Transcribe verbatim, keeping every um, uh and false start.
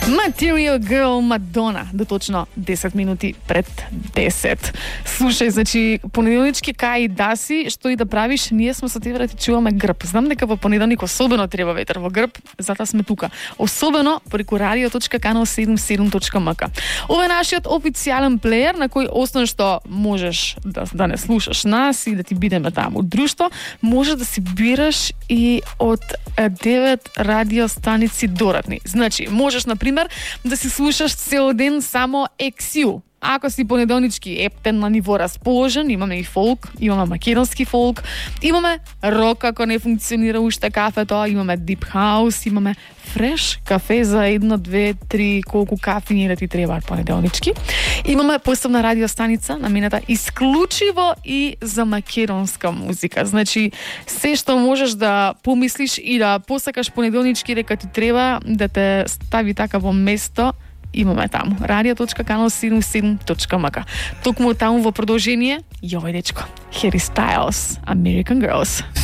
Material Girl Madonna, до точно десет минути пред десет. Слушај, значи, понеделнички кај да си, што и да правиш, ние сме со тебе да ти чуваме грб. Знам дека во понеделник особено треба ветер во грб, затоа сме тука. Особено преку радио точка канал седумдесет и седум точка ем ка. Ова е нашиот официјален плеер на кој освен што можеш да, да не слушаш нас и да ти бидеме таму друштво, можеш да си бираш и од девет радио станици дорадни. Значи, можеш, например, да си слушаш цел ден само екс ю. Ако си понеделнички ептен на ниво расположен, имаме и фолк, имаме македонски фолк, имаме рок ако не функционира уште кафето, имаме дип хаус, имаме фреш кафе за едно, две, три, колку кафини да ти требаат понеделнички. Имаме посебна радиостаница наменета исклучиво и за македонска музика. Значи, се што можеш да помислиш и да посакаш понеделнички дека ти треба да те стави така во место, имаме таму. радио точка канал седумдесет и седум точка ем ка. Токму таму во продолжение, и овој дечко, Harry Styles, American Girls.